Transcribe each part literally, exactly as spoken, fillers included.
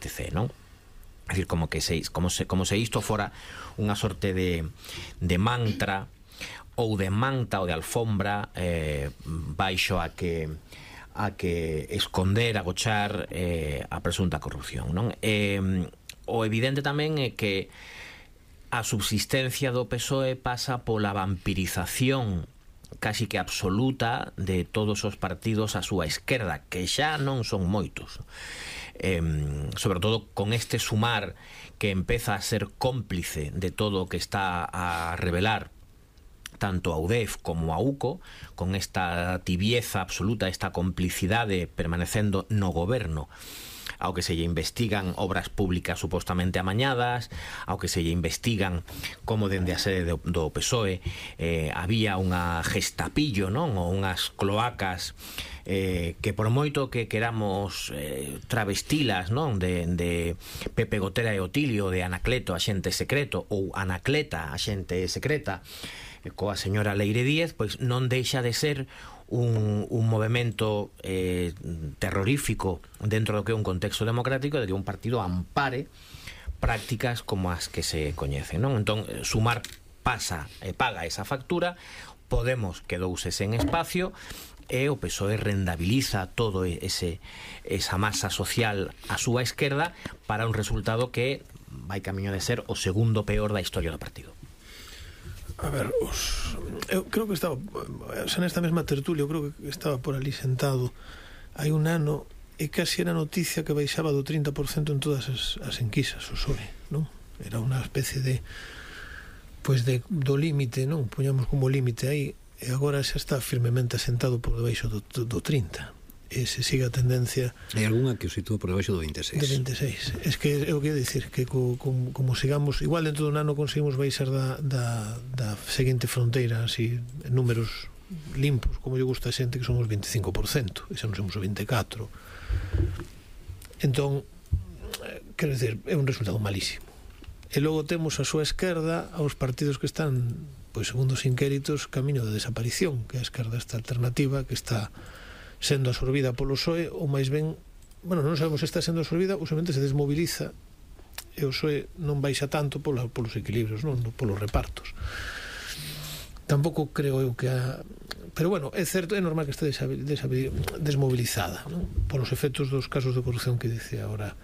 etcétera, non? É dicir, como que se, como se, como se isto fora unha sorte de, de mantra ou de manta ou de alfombra eh, baixo a que a que esconder, agochar eh, a presunta corrupción, non? Eh, o evidente tamén é que a subsistencia do P S O E pasa pola vampirización casi que absoluta de todos os partidos á súa esquerda, que xa non son moitos, eh, sobre todo con este sumar que empeza a ser cómplice de todo o que está a revelar tanto a U D E F como a U C O, con esta tibieza absoluta, esta complicidade permanecendo no goberno, ao que se lle investigan obras públicas supostamente amañadas, ao que se lle investigan como dende a sede do, do P S O E eh, había unha gestapillo, non? Ou unhas cloacas eh, que por moito que queramos eh, travestilas, non? De, de Pepe Gotera e Otilio, de Anacleto, axente secreto, ou Anacleta, axente secreta, coa señora Leire Díez, pois non deixa de ser un, un movimento eh, terrorífico dentro do que é un contexto democrático, de que un partido ampare prácticas como as que se coñecen, non? Entón, Sumar pasa e paga esa factura, Podemos quedouse sen espacio e o P S O E rendabiliza todo ese esa masa social á súa esquerda para un resultado que vai camiño de ser o segundo peor da historia do partido. A ver, os, eu creo que estaba xa nesta mesma tertulia, eu creo que estaba por ali sentado hai un ano e casi era noticia que baixaba do trinta por cento en todas as, as enquisas o P S O E, non? Era unha especie de pois de, do límite, non? Poñamos como límite aí e agora xa está firmemente asentado por debaixo do, do, do trinta e se sigue a tendencia. Hai algunha que o sitúa por debaixo do vinte e seis. Do vinte e seis. Es que eu quero dicir que co, como, como sigamos, igual dentro dun ano conseguimos baixar da, da, da seguinte fronteira así, en números limpos, como lle gusta a xente, que son os vinte e cinco por cento, e xa non somos o vinte e catro. Entón, quero dicir, é un resultado malísimo. E logo temos a súa esquerda aos partidos que están, pois segundo os inquéritos, camiño de desaparición, que é a esquerda esta alternativa que está sendo absorbida polo P S O E, ou máis ben, bueno, non sabemos se está sendo absorbida ou somente se desmoviliza e o P S O E non baixa tanto pola, polos equilibrios, non polos repartos. Tampouco creo eu que a... pero bueno, é certo, é normal que este desmobilizada, non? Polos efectos dos casos de corrupción que dice agora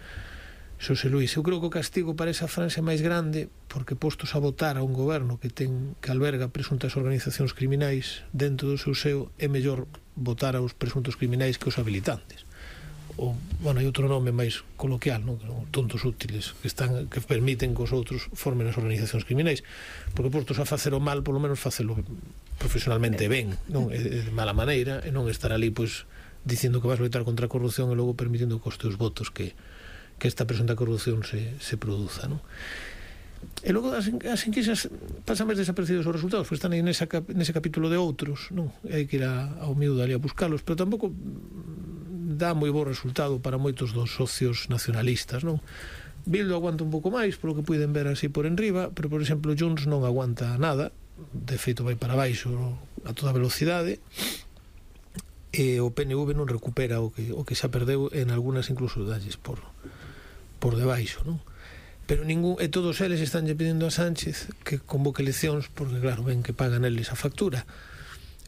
Xosé Luís. Eu creo que o castigo para esa franja é máis grande porque postos a votar a un goberno que ten que alberga presuntas organizacións criminais dentro do seu seo, é mellor votar aos presuntos criminais que os habilitantes. O, bueno, hai outro nome máis coloquial, non? Tontos útiles que están que permiten que os outros formen as organizacións criminais, porque postos a facer o mal, polo menos facelo profesionalmente ben, non de mala maneira, e non estar ali pois dicindo que vas loitar contra a corrupción e logo permitindo que os teus votos que que esta presunta corrupción se, se produza, non? E logo as, as enquisas pasan máis desaparecidos os resultados, pois están aí nesa, nese capítulo de outros, non? E hai que ir a, ao miúdo ali a buscalos, pero tampouco dá moi bo resultado para moitos dos socios nacionalistas, non? Bildu aguanta un pouco máis, polo que puiden ver así por enriba, pero, por exemplo, Junts non aguanta nada, de feito vai para baixo a toda velocidade, e o P N V non recupera o que, o que xa perdeu, en algunhas incluso dalles por por debaixo, non? Pero ningún, e todos eles están lle pedindo a Sánchez que convoque eleccións porque claro, ven que pagan eles a factura,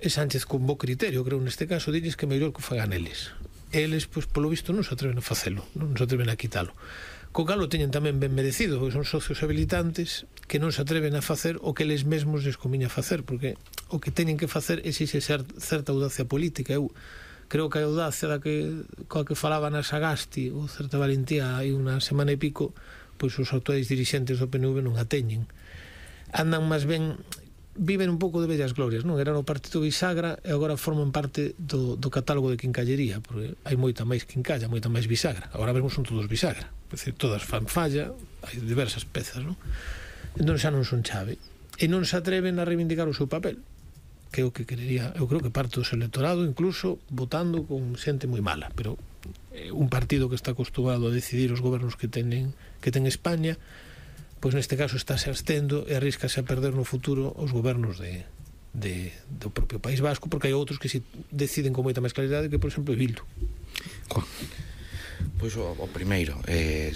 e Sánchez con bo criterio, creo neste caso, dilles que é mellor que fagan eles. Eles, pois, polo visto non se atreven a facelo, non se atreven a quitalo. Co cal o teñen tamén ben merecido, porque son socios habilitantes que non se atreven a facer o que eles mesmos les comiña facer, porque o que teñen que facer exixe ser certa audacia política. Eu creo que a audacia da que, coa que falaba na Sagasti, ou certa valentía hai unha semana e pico, pois os actuais dirixentes do P N V non a teñen. Andan máis ben, viven un pouco de vellas glorias, non? Eran o partido bisagra e agora forman parte do, do catálogo de quincallería, porque hai moita máis quincalla, moita máis bisagra. Agora mesmo son todos bisagra, é dicir, todas fan falla, hai diversas pezas, non? Entón xa non son chave e non se atreven a reivindicar o seu papel, que é o que querería, eu creo que parte do seu electorado incluso votando con xente moi mala, pero eh, un partido que está acostumado a decidir os gobernos que tenen que ten España, pois neste caso está se abstendo e arriscase a perder no futuro os gobernos de, de, do propio País Vasco, porque hai outros que si deciden con moita máis claridade, que por exemplo é Bildu. Juan. Pois o, o primeiro, eh,